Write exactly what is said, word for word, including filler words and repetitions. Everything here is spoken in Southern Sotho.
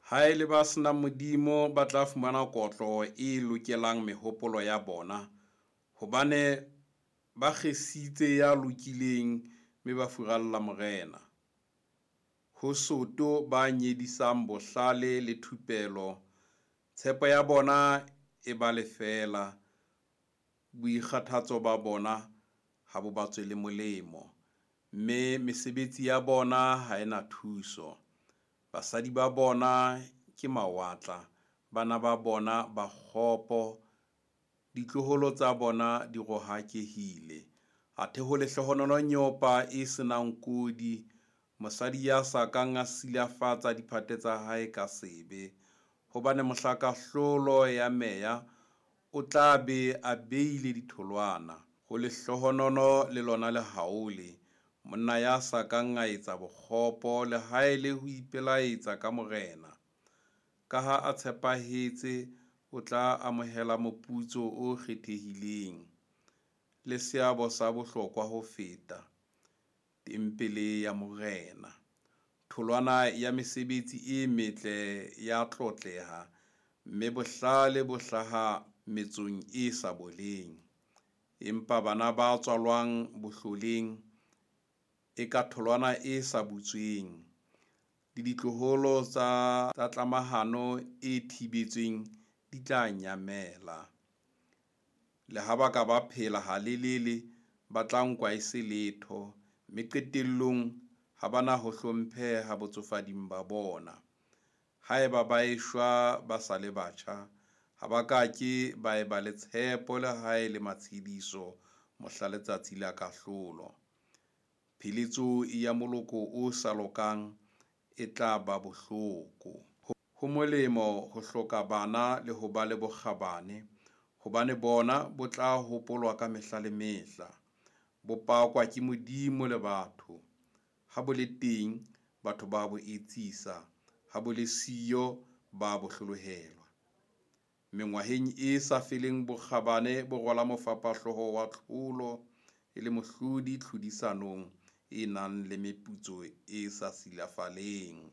Haele ba se nang Modimo, ba tla fumana kotlo e lokelang mehopolo ya bona, hobane ba kgesitse ya lokileng, mme ba furalla Morena. Ho soto ba nyedisang bohlale le thupelo, tshepo ya bona e ba lefeela, boikgathatso ba bona ha bo ba tswele molemo, mme mesebetsi ya bona ha e na thuso. Basadi ba bona ke mawatla, bana ba bona ba kgopo, ditloholo tsa bona di rohakehile. Athe ho lehlohonolo nyopa e se nang kodi, mosadi ya sa kang a silafatsa diphate tsa hae ka sebe, hobane mohla kahlolo ya meya o tla be a beile ditholwana. Ho lehlohonolo le lona lehaole, monna ya sa kang a etsa bokgopo le ha e le ho ipelaetsa ka Morena. Ka ha a tshepahetse, o tla amohela moputso o kgethehileng, le seabo sa bohlokwa ho feta, tempele ya Morena. Tholwana ya mesebetsi e metle ya tlotleha, mme bohlale bo hlaha metsong e sa boleng. Empa bana ba tswalwang bohloleng e ka tholwana e sa butsweng, le ditloholo tsa tsa tlamahano e thibetsweng di tla nyamela. Le ha ba ka ba phela halelele, ba tla nkwa e se letho, mme qetellong ha ba na ho hlompheha botsofading ba bona. Haeba ba eshwa ba sa le batjha, ha ba ka ke ba eba le tshepo le ha e le matshediso mohla letsatsi la kahlolo. Pheletso ya moloko o sa lokang e tla ba bohloko. Ho molemo ho hloka bana le ho ba le bokgabane, hobane bona bo tla hopolwa ka mehla le mehla. Bo pakwa ke Modimo le batho. Ha bo le teng, batho ba bo etsisa, ha bo le siyo, ba bo hlolohelwa. Mengwaheng e sa feleng bokgabane bo rwala mofapahlooho wa tlholo e le mohlodi tlhodisanong e nang le meputso e sa silafaleng.